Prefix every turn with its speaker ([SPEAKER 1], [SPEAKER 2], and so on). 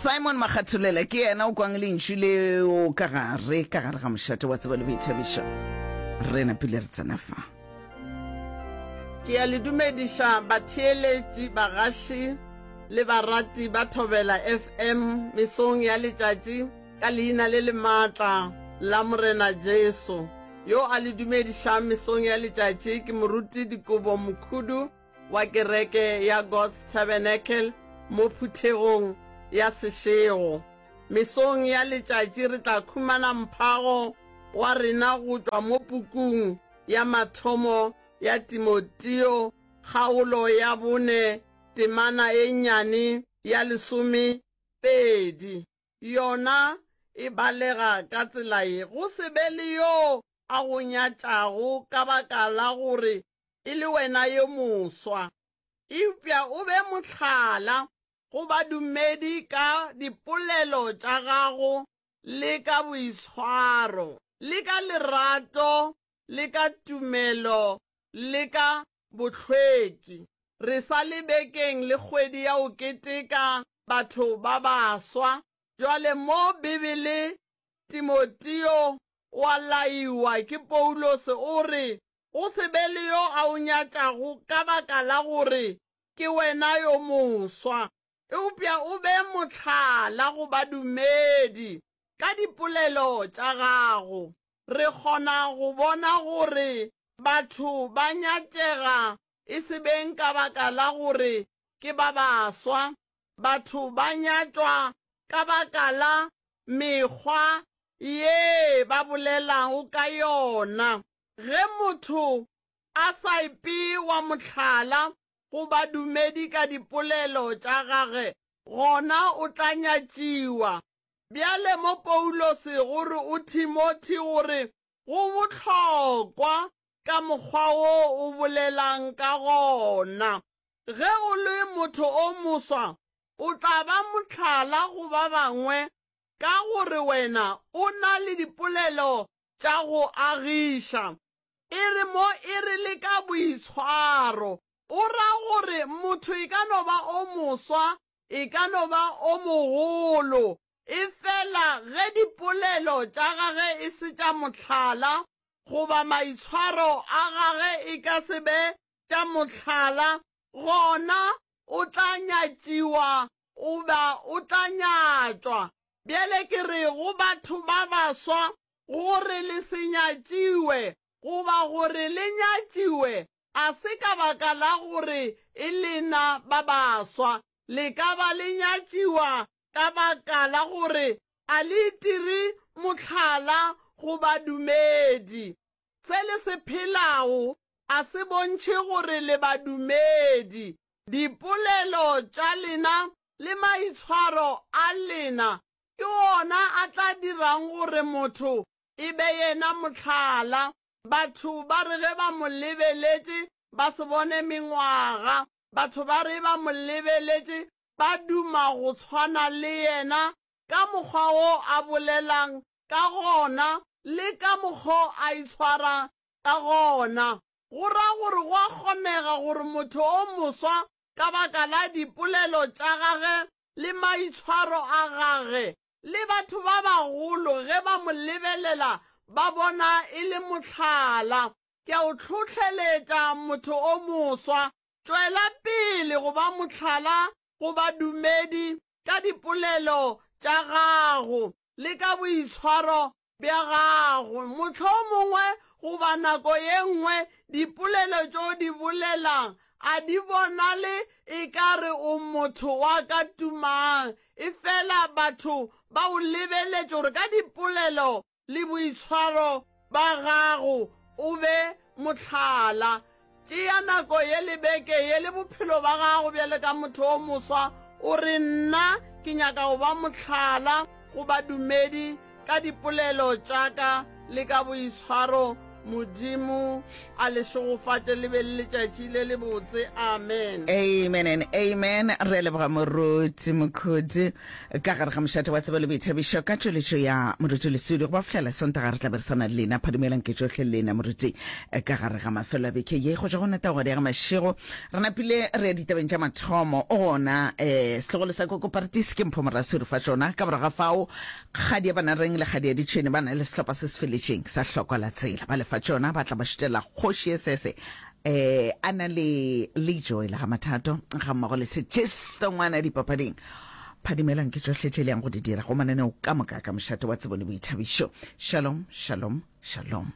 [SPEAKER 1] Simon Makgatholela ke yena o kwang lentšu leo ka gare ka gare ga mošate wa tsebo le boithabišo. Re napile re tsena fa.
[SPEAKER 2] Ke a le dumediša batheeletši, bagaši le barati ba Thobela FM mesong ya letšatši ka leina le le maatla la Morena Jesu. Yo a le dumedišang mesong ya letšatši ke Moruti Dikobo Mokhudu wa kereke ya God's Tabernacle mo phuthegong ya Seshego. Mesong ya letšatši re tla khumana mphago wa rena go tšwa mo pukung ya mathomo ya Timoteo kgaolo ya bone temana e nnyane ya lesomepedi. Yona e balega ka tsela ye, Go se be le yo a go nyatšago ka baka la gore e le wena yo moswa, eupša o be mohlala go badumedi ka dipolelo tša gago le ka boitshwaro, le ka lerato, le ka tumelo, le ka bohlweki. Re sa le bekeng le kgwedi ya go keteka batho ba baswa. Bjale mo Bibele Timoteo o a laiwa ke Paulose o re, Go se be le yo a o nyatšago ka baka la gore ke wena yo moswa, eupša o be mohlala go badumedi ka dipolelo tša gago. Re kgona go bona gore batho ba nyatšega e se beng ka baka la gore ke ba baswa. Batho ba nyatšwa ka baka la mekgwa ye ba bolelago ka yona. Ge motho a sa ipee wa mohlala go badumedi ka dipolelo tša gage, gona o tla nyatšiwa. Bjale mo Paulose go re o Thimothi gore go bohlokwa ka mokgwa wo o bolelang ka gona. Ge o le motho o moswa, o tla ba mohlala go ba bangwe ka gore wena o na le dipolelo tša go agiša. E re mo e re le ka boitshwaro, o ra gore motho e ka no ba o moswa, e ka no ba o mogolo, efela ge dipolelo tša gage e se tša mohlala, goba maitshwaro a gage e ka se be tša mohlala, gona o tla nyatšiwa goba o tla nyatšwa. Bjale ke re go batho ba baswa gore le se nyatšiwe goba gore le nyatšiwe a se ka baka la gore e lena ba baswa. Le ka ba le nyatšiwa ka baka la gore a le itire mohlala go badumedi. Se le se phelago a se bontšhe gore le badumedi. Dipolelo tša lena le maitshwaro a lena ke ona a tla dirang gore motho e be yena mohlala. Batho ba re ge ba mo lebeletše ba se bone mengwaga. Batho ba re ba mo lebeletše ba duma go tshwana le yena ka mokgwa wo a bolelang ka gona le ka mokgo a itshwarang ka gona. Go ra gore go a kgonega gore motho o moswa ka baka la dipolelo tša gage le maitshwaro a gage, le batho ba bagolo ge ba mo lebelela ba bona e le mohlala. Ke a o hlohleletša motho o moswa, tšwela pele go ba mohlala go badumedi ka dipolelo tša gago le ka boitshwaro bja gago. Mohlomongwe goba nako ye nngwe dipolelo tšo di bolelang a di bonale e ka re o motho wa ka tumang, efela batho ba o lebeletše gore ka dipolelo le boitshwaro ba gago o be mohlala. Tšea nako ye le beke ye le bophelo ba gago bjale ka motho o moswa, o re, Nna ke nyaka go ba mohlala go badumedi ka dipolelo tša ka le ka boitshwaro. Modimo a le šegofatše le be le letšatši le lebotse. Amen.
[SPEAKER 1] Amen and amen. Re a leboga Moruti Mokhudi ka gare ga mošate wa tsebo le boithabišo ka tšweletšo ya Moruti Lesudi. Go ba fihlela Sontaga re tla be re sa na le lena. Phadumelang ke tšohle lena Moruti ka gare ga mafelo a beke ye. Go tšwa go Nataogadi ya ga Mašego re napile re ya ditabeng tša mathomo. O gona eh, setlogolo sa Koko Partis ke Mpho Morasuri fa tšona. Ka morago ga fao Kgadi ya Banareng le Kgadi ya Ditšhwene ba na le sehlopha se se feletšeng sa hlokwa la tsela. Ba lefa tšona ba tla ba šutela kgoši ye sese eh a na le Lejoy la ga Mathato ga mmogo le Sejesto ngwana dipapading. Phadimelang ke tšohle tše le yang go di dira go mananeo ka moka ka mošate wa tsebo le boithabišo. Shalom, shalom, shalom.